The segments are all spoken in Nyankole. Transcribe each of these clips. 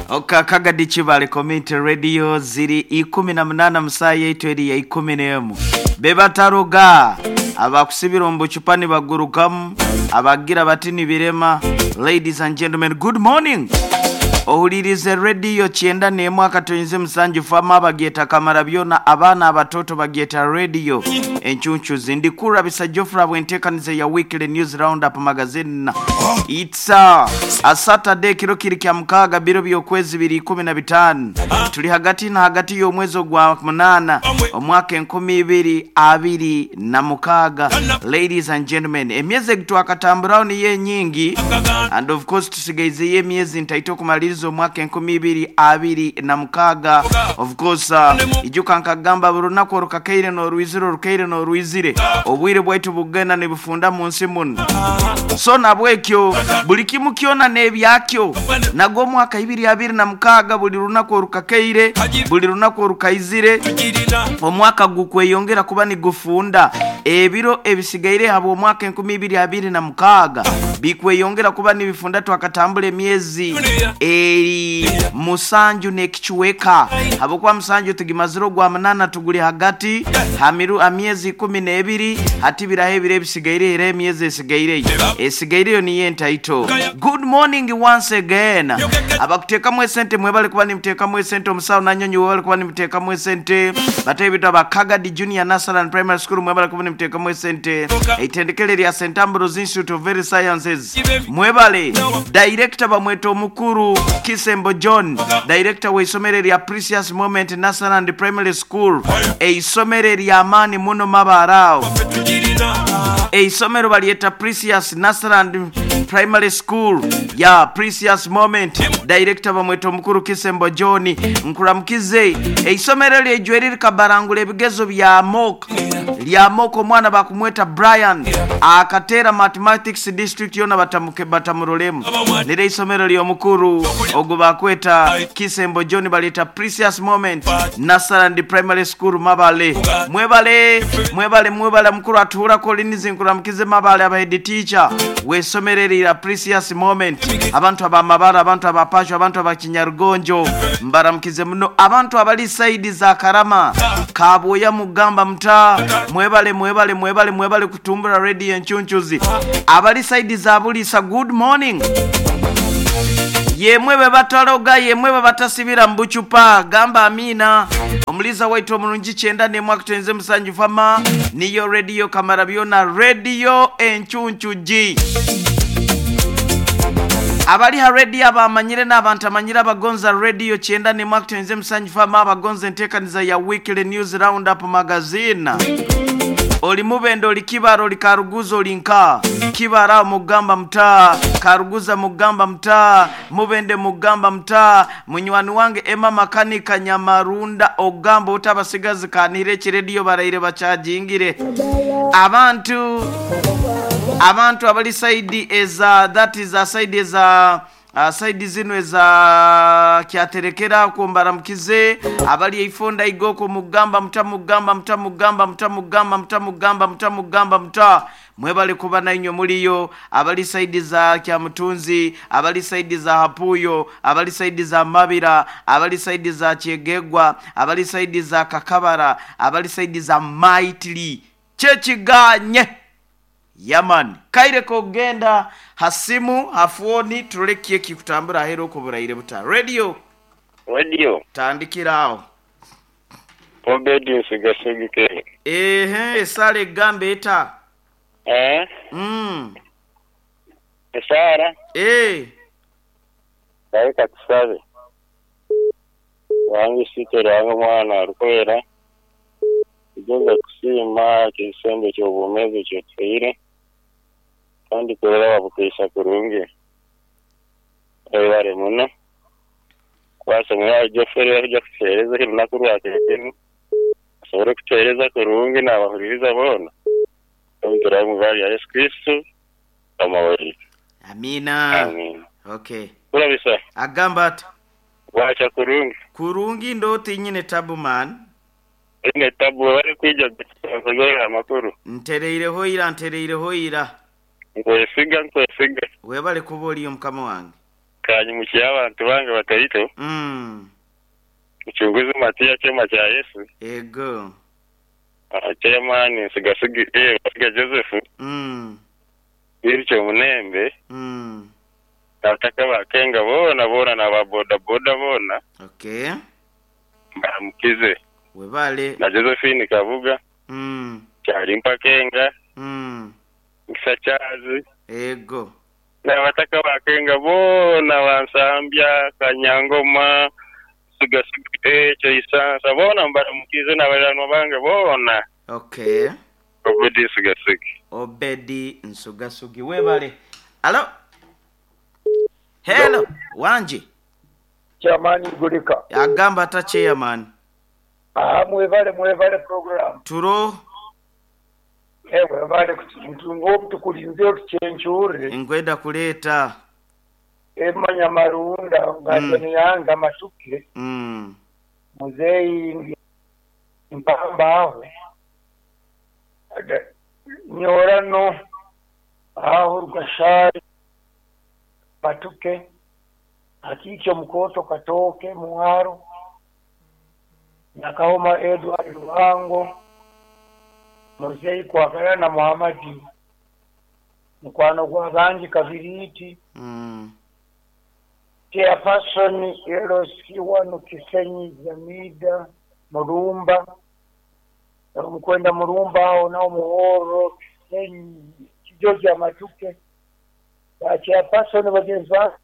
Kagadi Kibale Community Radio ziri 18 mu saaha yaitu eri ya 11. Bebataroga abakusibira omu bucupa nibagurukamu abagira bati nibirema. Ladies and gentlemen, good morning. Ohulirize Radio 91 akatoinze musanju fama bagyeta kamara byona abaana abatoto bagyeta Radio enchunchuzi. Ndikurabisa Geoffrey bwentekanize ya Weekly News Roundup Magazine. It's a Saturday kiro kiri kya mukaaga biro by'okwezi biri 15. Tuli hagati na hagati y'omwezi ogwa 8 omwaka 2026. Ladies and gentlemen, emyezi egitwakatamburaho niyo enyingi and of course tusigaizeyo emyezi ntaito okumaliriza omwaka 2026. Of course ijuka nkagamba buri lunaku orukakaire n'orwizire orukaire n'orwizire obwire bwaitu bugenda nibufunda mu nsi muno. So nabwekyo buli kimu kyona n'ebyakyo nagwo omwaka 2026 buli lunaku orukakaire buli lunaku orukaizire omwaka gukweyongera kuba nigufunda. Ebiro ebisigaire habw'omwaka 2026 bikweyongera kuba nibifunda. Twakatambula emyezi eri musanju n'ekichweka habwokuba musanju tugimazire ogwa 8 tuguli hagati ha myezi 12 hati biraho ebiro ebisigaire era emyezi esigaireyo esigaireyo niyo entaito. Good morning once again. Abakuteekamu esente mwebale kuba nimuteekamu esente. Omusawo Nanyonyi webale kuba nimuteekamu esente. Batahe bitu aba Kagadi Junior Nursery and Primary School mwebale kuba nimuteekamu esente. Eitendekero erya St Ambrose Institute of Health Sciences mwebale. Director bamweta omukuru Kisembo John, director w'eisomero erya Precious Moment Nursery and Primary School, eisomero ery'amaani muno Mabaare aho. Eisomero balyeta Precious Nursery and Primary School ya Precious Moment. Director bamweta omukuru Kisembo John. Nkuramukize. Eisomero eryo eijweri rikabarangura ebigezo bya mock. Lya mock omwana bakumweta Brian akateera Mathematics district yona batamurolemu. Nire eisomero ly'omukuru ogwo bakweta Kisembo John balyeta Precious Moment Nursery and Primary School Mabale. Mwebale mwebale mwebale mukuru atuhura Collins nkuramukize Mabale aba head teacher w'eisomero erya Precious Moment. Abantu aba Mabare, abantu aba Pasho, abantu aba Kinyarugonjo mbaramukize muno. Abantu abali side za Karama Kabwoya mugamba muta mwebale mwebale mwebale mwebale kutumbura Radio Enchunchuzi. Abali side za Bulisa good morning. Yemwe bebataloga yemwe bebatasibira mu bucupa gamba amina. Omuliza waitu omulungi 91 kutenze musanju fama niyo Radio Kamara byona Radio Enchunchuji. Abali ha radio abamanyire n'abantu amanyire abagonza Radio 91 kutenze musanju fama abagonza entekaniza ya Weekly News Roundup Magazine. Oli mubendo oli kibara oli karuguza oli nka kibara mugamba mtaa karuguza mugamba mtaa mubende mugamba mtaa munywani wange Emma Makanika Nyamarunda ogamba otabasigazi kanire ekiredio baraire bachajingire. Abantu abali side eza that is a side eza side zino eza kyaterekera kumbara mukize abali eifonda igoko mugamba muta mugamba muta mugamba muta mugamba muta mugamba muta mugamba muta mwebale kuba nainywe muliyo. Abali side za Kyamutunzi, abali side za Hapuyo, abali side za Mabira, abali side za Kyegegwa, abali side za Kakabara, abali side za Maitili kyekiganye Yaman kaire kogenda hasimu hafuoni tulekie kikutambura ahero okuburaire buta radio radio tandikirawo obedience gasegike ehe sale gambe eta esara Kaika tusabe wange sitera mwana arukwera igenza kusima kisembe ky'obumeze kyotwire kandi kurera babukwisa kurungi ebare muno kwasomera Geoffrey ajya kutereza lunaku rwakekenu asobole kutereza kurungi n'abahuririza bona omuturamu ya Yesu Kristo amaweri. Amina. Amina. Okay. Kurabisa. Agamba ati wacha kurungi. Kurungi ndoti nyine tabu man. Ine tabu bari kwijja kuzoya amakuru. Ntereireho ira. Nkwesiga. Webale kuba oliyo mukama wange. Kanyimukye abantu bange bataito. Mucunguzi Matiya Kyema kya Yesu. Ego. Chairman Nsigasigi eh Basiga Joseph. Birikyo Munembe. Abataka ba Kenga boona boona na ba boda boda boona. Okay. Mbaramukize. Webale. Na Josephine Kabuga. Kyalimpa Kenga. Nkisa Charles. Ego. N'abataka ba Kenga boona ba Nsambya, Kanyangoma, Nsuga-suga, ekyo Isansa boona mbaramukiize n'abaliranwa bange boona. Okay. Obedi Nsugasugi. Obedi Nsugasugi webale. Alo. Hello. Wangi. Chairman Igulika. Agamba ata chairman? Ahaa mwebale mwebale program. Turo. Eeh webale kutu tukulinze otucencuure. Nkwenda kuleeta. Emanya Marunda nga Nyanza Matuke, Muzeeyi ndi Mpamba agho, Nyorano agho Rugashari Matuke, Akiikyo Mukooto Katooke Mwaro, Nakahoma Edward Lubango, Muzeeyi Kwagalana Muhamadi, Mukwano gwa bangi Kabiriiti, Chairperson LC wano Kisenyi Zamida Mulumba, Omukwenda Mulumba agho nagho Muhooro Kisenyi Kijoja Matuke, ba Chairperson bagenzi bange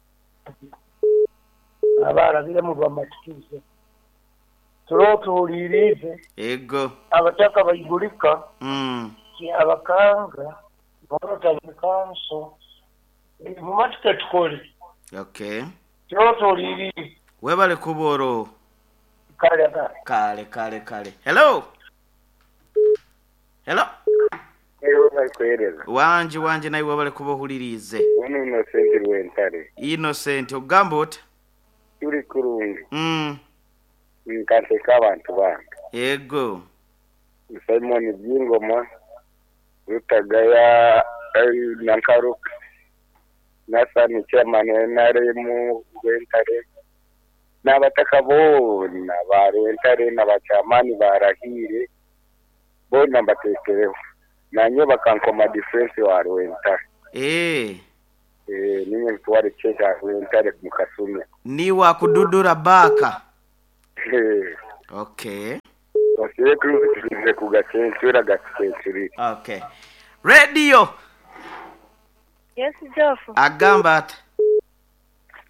abalabiremu bamatikize. Tule otuwuliriize. Ego. Abataka baigulika ki Abakanga Rotary Council mumatike tukole. Okay. Tule otuwuliriize. Webale kuba olwo. Kale kale. Kale kale kale. Hello. Hello. Eeh webale kuwereza. Wangi wangi naiwe webale kuba ohuliriize. Ono Innocent Rwentare. Innocent ogamba ota? Turi kurungi. Nkanseka abantu bange. Yego. Simon Byingoma, Rutagaya na Nkaruka, Nathan chairman wa nrm Rwentare n'abataka boona ba Rwentare na ba chairman ba Rahiire boona mbateekireho. Nanye bakankoma defense wa Rwentare. Eeh. Eeh ninye ntwara ekitebe kya Rwentare mu kasumi. Niiwe akududura baaka? Eeh. Okay. Basibe tuze kugacencura gatucencurire. Okay. Radio! Yes Jofu. Agamba ata?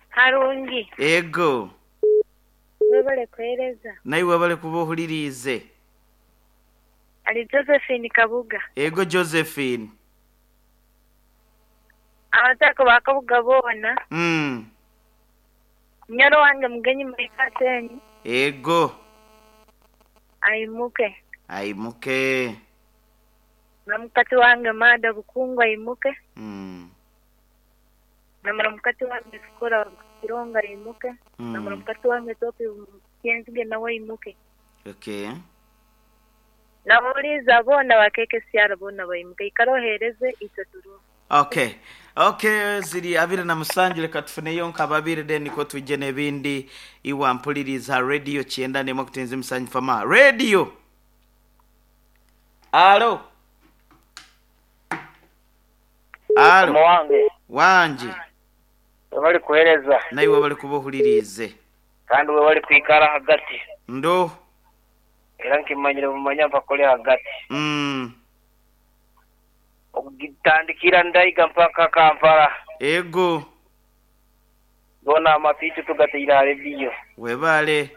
Harungi. Ego. Webale kuhereza. Naiwe webale kuba ohuririize. Ali Josephine Kabuga. Ego Josephine. Abataka ba Kabuga boona. Munyoro wange Mugenyi Mike Atenyi. Ego. Aimuke. Aimuke. Na mukati wange Maada Bukungu aimuke. Na muramukati wange Sikora Kironga aimuke. Na muramukati wange Topi Kyenzige nawe aimuke. Okay. N'abawuliriza boona ba KKCR boona baimuke. Ikara oheereze itwe turiho. Ok ok ziri abiri na musanju leka tufuneyo nka babiri then nikwo twije n'ebindi iwe ampuliriza radio kyenda n'emwe kutenza emisanju fama radio alo alo Mukama wange. Wangi. Webale kuhereza. Naiwe webale kuba ohuririize. Kandi webale kwikara ahagati. Ndo. Era nkimanyire bumanya mpaka ori ahagati. Okutandikira Ndaiga mpaka Kampala. Ego. Goona amatu itwe tugateire aha rediyo. Webale.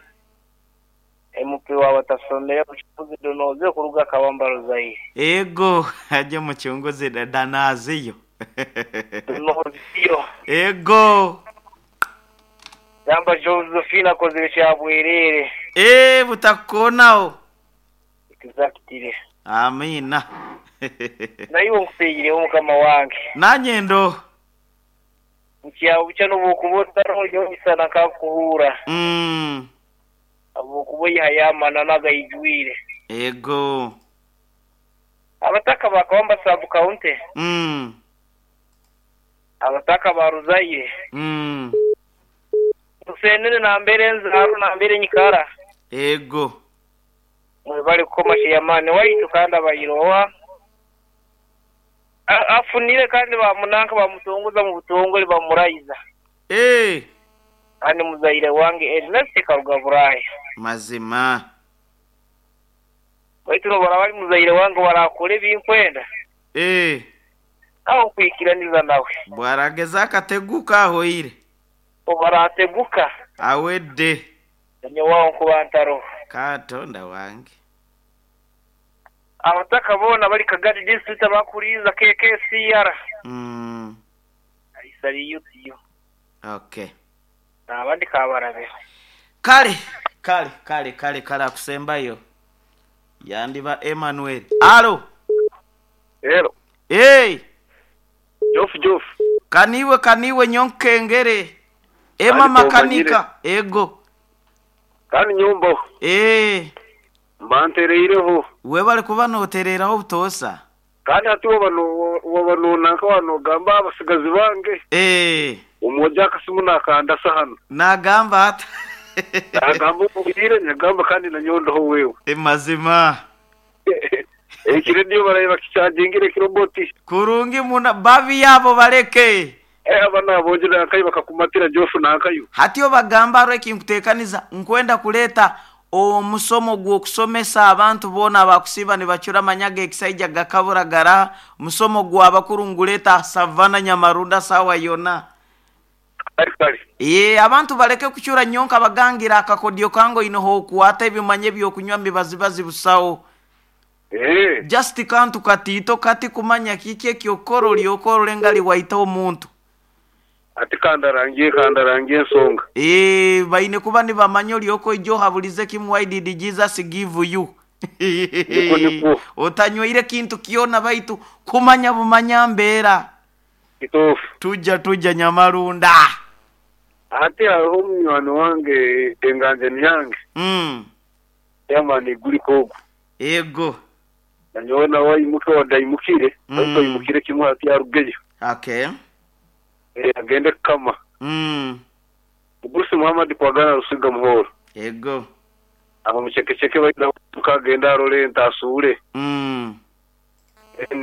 MP waaba atasomire Mucunguzi Donoziyo kuruga Kabamba Ruzaire. Ego aje Mucunguzi Danaziyo. Donoziyo. Ego. Gamba Josephine akozire kya bwereere. Eeh butakukoonagho. Exactly. Amiina. Naiwe nkuteireho mukama wange. Nanye ndo. Bukya bukya n'obu okuba otariho nyowe misana nkakuhuura. Ahabw'okuba oihayo amananu agaijwire. Ego. Abataka ba Kawamba Sub County. Abataka ba Ruzaire. Musenene nambere enzaarwa nambere nyikara. Ego. Mwebale kukoma Chairman waitu kandi abaire owa afunire kandi bamunanka bamutongoza mu butongole bamurayiza. Eeh. Kandi muzaire wange Ernest Karuga Buraaya. Mazima. Baitu nobu araba ari muzaire wange obu arakora ebi nkwenda, Eeh. aho nkwikiraniza nawe. Bwarageza akateguka ahoire. Obu arateguka. Awedde. Nyowe aho nkuba ntaroho. Katonda wange. Abataka boona abari Kagadi District abakuriiza KKCR. Aisariyo tiyo. Okay. Nabandi kabarabira. Kale, kale, kale, kale, kale akusembayo yandiba Emmanuel. Alo! Hello. Hey! Jofu Jofu. Kaniwe kaniwe nyonkengere. Emma Kandi makanika. Ego. Kandi nyombaho. Eh. Mba ntereireho. Webale kuba notereraho obutoosa. Kandi hati waba nonanka wanogamba abasigazi bange. Eh. Omwojo akasimu nakandasa hanu. Nagamba ata? Nagamba omuhire nagamba kandi nanyowe ndoho wewe. Mazima. Eki radio baraye bakikyagingire ekiroboti. Kurungi muna babi abo baleke. Eh aba nabonje nankayo bakakumatira Jofu nankayo. Hati obagamba hariho ekinkuteekaniza nkwenda kureeta omusomo gw'okusomesa abantu boona abakusiiba nibacura amanya g'ekisaija gakabura garaha, omusomo gw'abakuru ngureete aha Savannah Nyamarunda saawa yoona. Kare kare. Eeh abantu baleke kucura nyonka bagangire akakodyo kange oine h'okwata ebimanya eby'okunywa mibazibazi busaho. Eeh. Just kantu katiito kati kumanya kiki eky'okukora oryoke orore ngari waita omuntu. Ati kandarangie kandarangie ensonga. Eeh baine kuba nibamanya oryoke oije ohaburize kimwe why did Jesus give you? Nikwo nikwo. Otanyweire kintu kyona baitu kumanya bumanya mbeera. Kituufu. Tuja tuja Nyamarunda. Hati hariho munywani wange enganjani yange. Chairman Igurika ogu. Ego. Nanyowe nawe aimuke wadde aimukire baitu aimukire kimwe hati arugeyo. Okay. Agende kukama. Mugurusi Muhammad Kwagana Rusiga Muhoro. Ego. Abamucekeceke baidha kutuka agende arole ente asuule. Then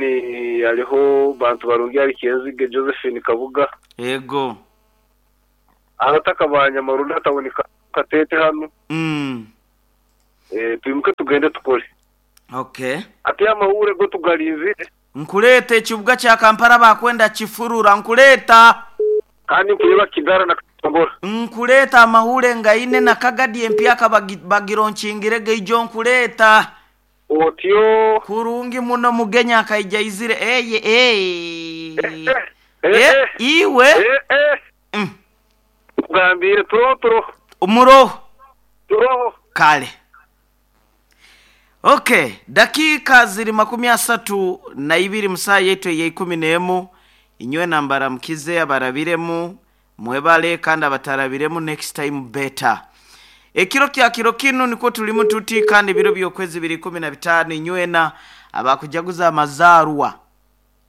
hariho Bantu Barungi ahari Kyenzige Josephine Kabuga. Ego. Abataka ba Nyamarunda tawuni ka Kateete hanu. Twimuke tugende tukore. Okay. Ati amahuure go tugarinzire. Nkureeta ekibuga kya Kampala baakwenda kifurura nkureeta. Kandi nkureeba Kigara na Katongora. Nkureeta amahuure ngaine na Kagadi empyaka bagironkingire gaijo nkureeta. Otyo. Kurungi muno Mugenyi akaija aizire eye ee eh iwe. Nkugambiire turoho turoho. Muroho. Turoho. Kale. Ok, dakiika ziri makumi asatu na ibiri mu saaha yaitu ey'eikumi n'emu. Inywena mbaramukize abarabiremu mwebale kandi abatarabiremu next time better. Ekiro kya kiro kinu nikwo turimu tuti kandi ebiro by'okwezi biri 15 inywena abakujaguza amazaarwa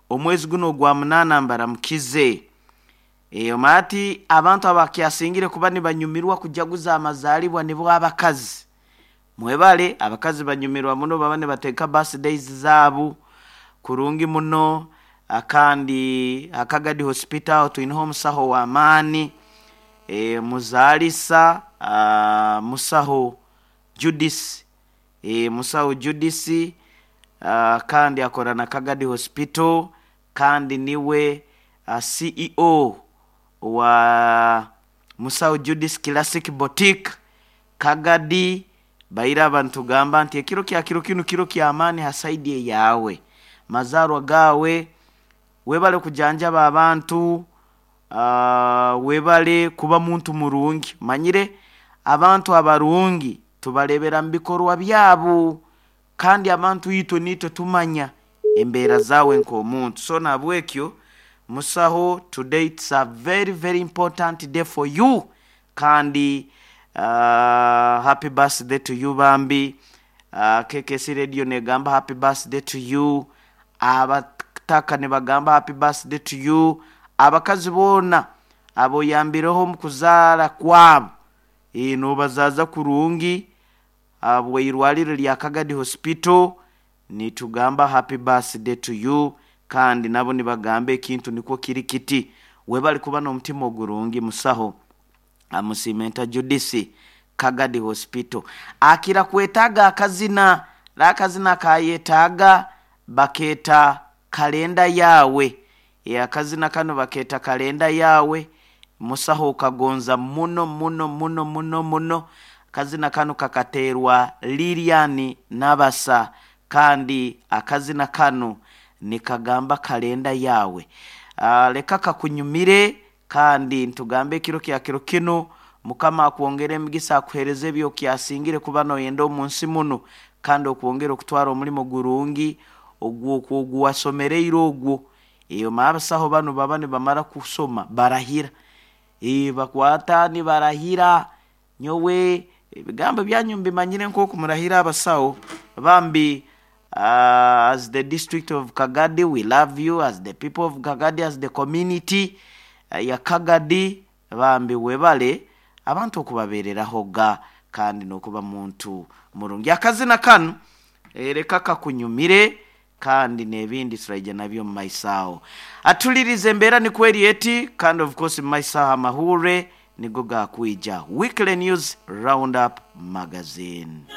omwezi gunu ogwa munaana mbaramukize. Omanya ati abantu abakyasingire kuba nibanyumirwa kujaguza amazaalibwa nibo abakazi. Mwebale, abakazi banyumirwa muno baba nibateeka birthdays zaabo kurungi muno kandi aha Kagadi Hospital twineho omusaho w'amaani, muzaalisa musaho Judith, musaho Judith kandi akora na Kagadi Hospital kandi niwe CEO owa Musaho Judith Classic Boutique, Kagadi. Baire aba nitugamba nti ekiro kya kiro kinu kiro ky'amaani ha saidi eyaawe. Mazaarwa gaawe, webale kujanjaba abantu, webale kuba muntu murungi. Manyire abantu abarungi tubareebera mu bikorwa byabo kandi abantu itwe niitwe tumanya embeera zaawe nk'omuntu. So nahabwekyo musaho today it's a very very important day for you kandi Happy birthday to you bambi. KKC radio negamba happy birthday to you. Abataka nibagamba happy birthday to you. Abakazi boona Aboyambireho omu kuzaara kwabo ee nobazaaza kurungi ahabw'eirwariro rya Kagadi Hospital nitugamba happy birthday to you kandi nabo nibagamba ekintu nikwo kiri kiti webale kuba n'omutima ogurungi musaho Amusiimenta Judith Kagadi Hospital akira kwetaaga akazina ra akazina akayetaaga bakeeta Kalenda Yaawe Ee akazina kanu bakeeta Kalenda Yaawe Musaho okagonza muno muno muno muno muno. Akazina kanu kakateerwa Lilian Nabasa kandi akazina kanu nikagamba kalenda yaawe. Leka kakunyumire kandi nitugamba ekiro kya kiro kinu Mukama akwongere emigisa akuhereze ebyokyasingire kuba noyenda omunsi munu kandi okwongere okutwara omulimo gurungi ogwo oguwasomereire ogwo. Eeh abasaho banu baba nibamara kusoma barahira. Eeh bakwata nibarahira nyowe ebigambo byanyu mbimanyire nkoku murahira abasaho bambi as the district of Kagadi we love you as the people of Kagadi as the community ya Kagadi bambi webale abantu okubabereraho ga kandi nokuba muntu murungi. Akazina kanu reka kakunyumire Kandi n'ebindi turaija nabyo omu maiso aho. Atulirize embeera nikwo eri eti, kandi of course omu maiso aho amahurre nigo gaakwija. Weekly News Roundup Magazine.